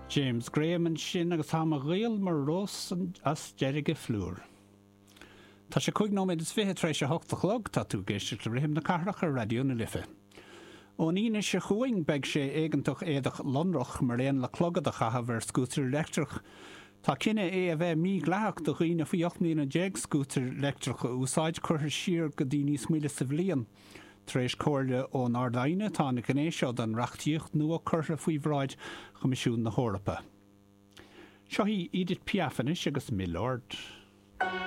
James Graham ansin agus tá mo ghaol mar rós as deirge phlúr. Tá sé 25 nóiméad tar éis a hocht a chlog, tá tú ag éisteacht le Rithim na Cathrach ar Raidió na Life. Ón Aoine seo chugainn beidh sé éigeantach éadach lonrach mar aon le clogad a chaitheamh ar scútar leictreach. Tá cinneadh é a bheith mídhleathach do dhaoine faoi 18 mbliana scútar leictreach a úsáid curtha siar go dtí níos moille sa bhliain. Tar éis comhairle ón Ard-Aighne tá an ghné seo den reachtaíocht nua curtha faoi bhráid Choimisiún na hEorpa. Seo í Edith Piaf anois agus Milord.